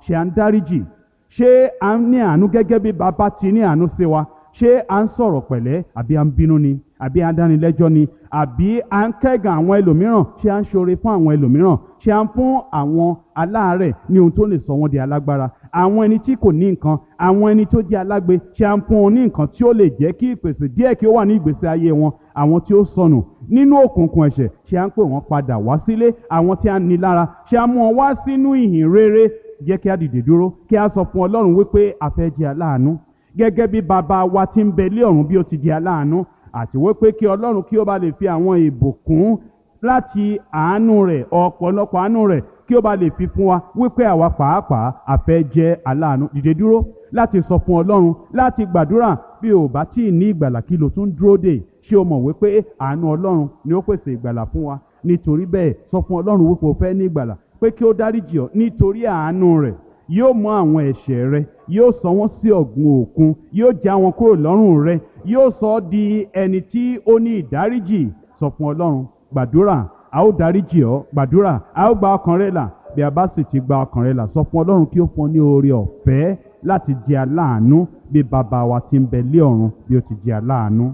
Ṣé à ń dáríjì? Ṣé à ń ní àánú gẹ́gẹ́ bí bàbá ti ní àánú sí wa? Ṣé à ń sọ̀rọ̀ pẹ̀lẹ́, àbí à ń bínú ni, àbí à ń dánilẹ́jọ́ ni, àbí à ń kẹ́gàn àwọn ẹlòmíràn? Ṣé à ń ṣoore fún àwọn ẹlòmíràn? Ṣé à ń fún àwọn aláàárẹ̀ ní ohun tó lè sọ wọ́n di alágbára? Àwọn ẹni tí kò ní nǹkan, àwọn ẹni tó jẹ́ alágbe, ṣé à ń fún wọn ní nǹkan tí ó lè jẹ́ kí ìpèsè díẹ̀ kí ó wà ní ìgbésí ayé wọn? Àwọn tí ó sọnù nínú òkùnkùn ẹ̀ṣẹ̀, ṣé à ń pè wọ́n padà wá sílé? Àwọn tí a ní lára, ṣé à ń mú wọn wá sínú ìhìn rere? Jẹ́ kí a dìde dúró, kí a sọ fún Ọlọ́run wípé a fẹ́ jẹ́ aláàánú gẹ́gẹ́ bí bàbá wa ti ń bẹ lé ọ̀run bí ó ti di aláàánú, àti wípé kí Ọlọ́run kí ó bá lè fi àwọn ìbùkún láti àánú rẹ̀, ọ̀pọ̀lọpọ̀ àánú rẹ̀, kí ó bá lè fi fún wa, wípé àwa pàápàá a fẹ́ jẹ́ aláàánú. Dìde dúró láti sọ fún Ọlọ́run, láti gbàdúrà. Bí o bá tí ì ní ìgbàlà, kí lo tún dúró dè? Ṣé o mọ̀ wípé àánú Ọlọ́run ni ó pèsè ìgbàlà fún wa? Nítorí bẹ́ẹ̀, sọ fún Ọlọ́run wípé o fẹ́ ní ìgbàlà, pé kí ó dáríjì ọ́ nítorí àánú rẹ̀. Yóò mú àwọn ẹ̀ṣẹ̀ rẹ, yóò sọ wọ́n sí ọ̀gbun òkun, yóò já wọn kúrò lọ́rùn rẹ, yóò sọ ọ́ di ẹni tí ó ní ìdáríjì. Sọ fún Ọlọ́run, gbàdúrà, a ó dáríjì ọ́. Gbàdúrà, a ó gba ọkàn rẹ là. Bí a bá sì ti gba ọkàn rẹ là, sọ fún Ọlọ́run kí ó fún ọ ní oore ọ̀fẹ́ láti di aláàánú bí bàbá wa ti ń bẹ lé ọ̀run bí ó ti di aláàánú.